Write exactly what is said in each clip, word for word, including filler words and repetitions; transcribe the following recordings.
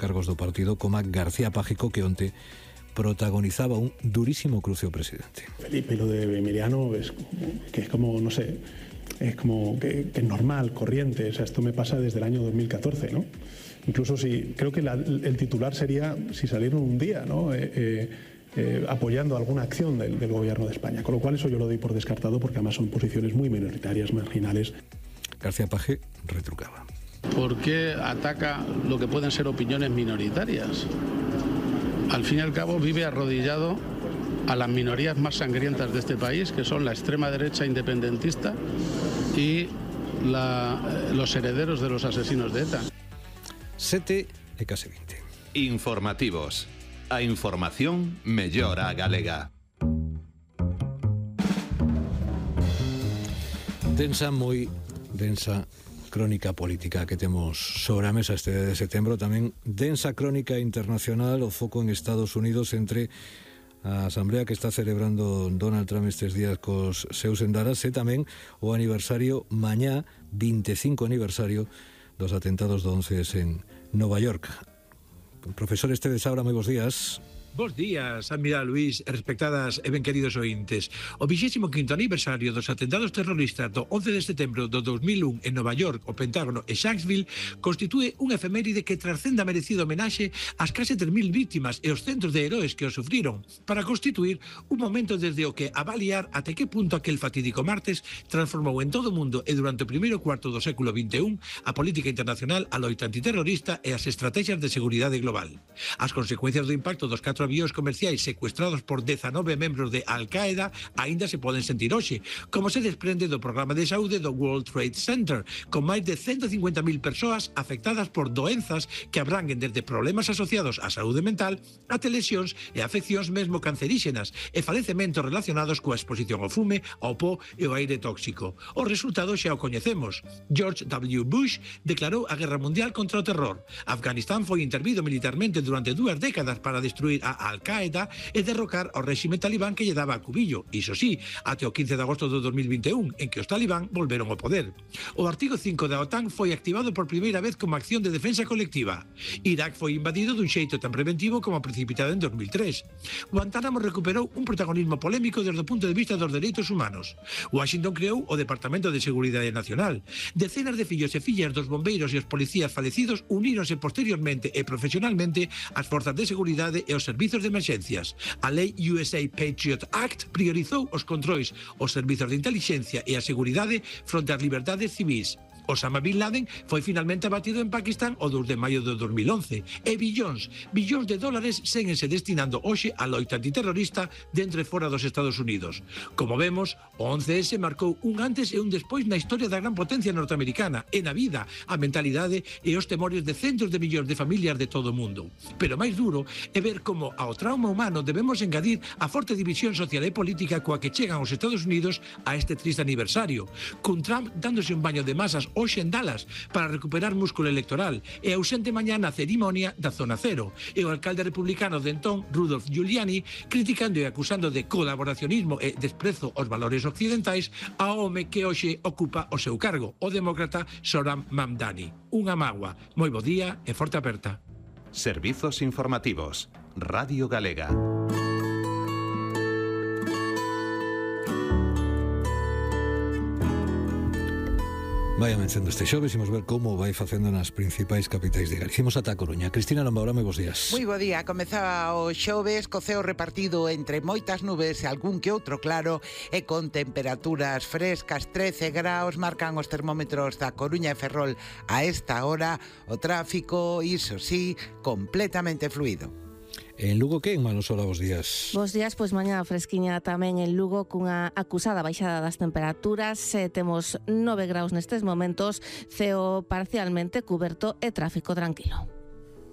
cargos do partido, como García Pájico, que onte protagonizaba un durísimo cruce ao presidente. Felipe, lo de Emiliano es que es como, no sé, es como que, que es normal, corriente. O sea, esto me pasa desde el año dos mil catorce, ¿no? Incluso si, creo que la, el titular sería si salieron un día, ¿no? Eh, eh, eh, apoyando alguna acción del, del gobierno de España. Con lo cual eso yo lo doy por descartado porque además son posiciones muy minoritarias, marginales. García Paje retrucaba. ¿Por qué ataca lo que pueden ser opiniones minoritarias? Al fin y al cabo vive arrodillado a las minorías más sangrientas de este país, que son la extrema derecha independentista y la, los herederos de los asesinos de ETA. sete e case vinte. Informativos. A información mellora a galega. Densa, moi densa crónica política que temos sobre a mesa este de setembro, tamén densa crónica internacional, o foco en Estados Unidos entre a asamblea que está celebrando Donald Trump estes días cos seus endaras e tamén o aniversario mañá, vinte e cinco aniversario dos atentados do once ese en Nova York. Profesor Esteves Saura, moi bons días. Bos días, admirado Luís, respectadas e ben queridos ointes. O vixésimo quinto aniversario dos atentados terroristas do once de setembro do dos mil un en Nova York, o Pentágono e Shanksville constitúe unha efeméride que trascende a merecido homenaxe ás case tres mil vítimas e os centros de heróis que o sufriron, para constituir un momento desde o que avaliar até que punto aquel fatídico martes transformou en todo o mundo e durante o primeiro cuarto do século vinte e un a política internacional, a loita antiterrorista e as estrategias de seguridade global. As consecuencias do impacto dos catro avións comerciais secuestrados por dezanove membros de Al-Qaeda aínda se poden sentir hoxe, como se desprende do programa de saúde do World Trade Center, con máis de ciento cincuenta mil persoas afectadas por doenzas que abranguen desde problemas asociados á saúde mental até lesións e afeccións mesmo canceríxenas e falecementos relacionados coa exposición ao fume, ao po e ao aire tóxico. O resultado xa o coñecemos. George W. Bush declarou a guerra mundial contra o terror. Afganistán foi intervido militarmente durante dúas décadas para destruir a Al-Qaeda e derrocar ao réxime talibán que lle daba a cubillo, iso sí, até o quince de agosto do dos mil vinte e un, en que os talibán volveron ao poder. O artigo cinco da OTAN foi activado por primeira vez como acción de defensa colectiva. Irak foi invadido dun xeito tan preventivo como precipitado en dos mil tres. Guantánamo recuperou un protagonismo polémico desde o punto de vista dos dereitos humanos. Washington creou o Departamento de Seguridade Nacional. Decenas de fillos e fillas dos bombeiros e os policías falecidos uníronse posteriormente e profesionalmente ás forzas de seguridade e os servizos de emerxencias. A lei U S A Patriot Act priorizou os controis, os servizos de inteligencia e a seguridade fronte ás liberdades civis. Osama Bin Laden foi finalmente abatido en Pakistán o dos de maio do dos mil once e billóns, billóns de dólares séguense destinando hoxe a loita antiterrorista dentro e fora dos Estados Unidos. Como vemos, o once ese marcou un antes e un despois na historia da gran potencia norteamericana e na vida, a mentalidade e os temores de centos de millóns de familias de todo o mundo. Pero máis duro é ver como ao trauma humano debemos engadir a forte división social e política coa que chegan os Estados Unidos a este triste aniversario, cun Trump dándose un baño de masas hoxe en Dallas para recuperar músculo electoral e ausente mañá na cerimonia da Zona Cero, e o alcalde republicano de entón, Rudolph Giuliani, criticando e acusando de colaboracionismo e desprezo aos valores occidentais ao home que hoxe ocupa o seu cargo, o demócrata Zohran Mamdani. Unha mágoa, moi bo día e forte aperta. Servizos informativos. Radio Galega. Vai amencendo este xoves, imos ver como vai facendo nas principais capitais de Galicia. Imos ata a Coruña. Cristina Lombaura, moi bons días. Moi bo día. Comezaba o xoves co ceo repartido entre moitas nubes e algún que outro claro e con temperaturas frescas. Trece graus marcan os termómetros da Coruña e Ferrol a esta hora. O tráfico, iso sí, completamente fluido. En Lugo, que en Manosola, bos días? Bos días, pois mañá fresquiña tamén en Lugo cunha acusada baixada das temperaturas. Eh, temos nove graus nestes momentos, ceo parcialmente cuberto e tráfico tranquilo.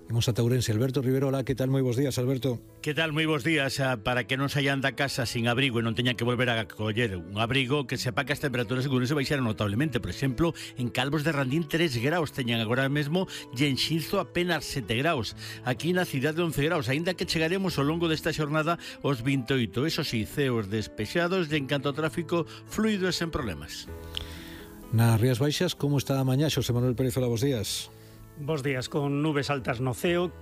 Imos a Ourense. Alberto Rivero, hola, que tal? Moi bons días, Alberto. Que tal? Moi bons días. Para que non saian da casa sin abrigo e non teñan que volver a coller un abrigo, que sepa que as temperaturas en Ourense baixaron notablemente. Por exemplo, en Calvos de Randín tres graus teñan agora mesmo e en Xinzo apenas sete graus. Aquí na cidade once graus, aínda que chegaremos ao longo desta xornada aos vinte e oito. Eso sí, ceos despexados e en canto ao tráfico fluido e sen problemas. Nas Rías Baixas, como está a mañá? Xosé Manuel Pérez, hola, bos días. Bos días, con nubes altas no ceo.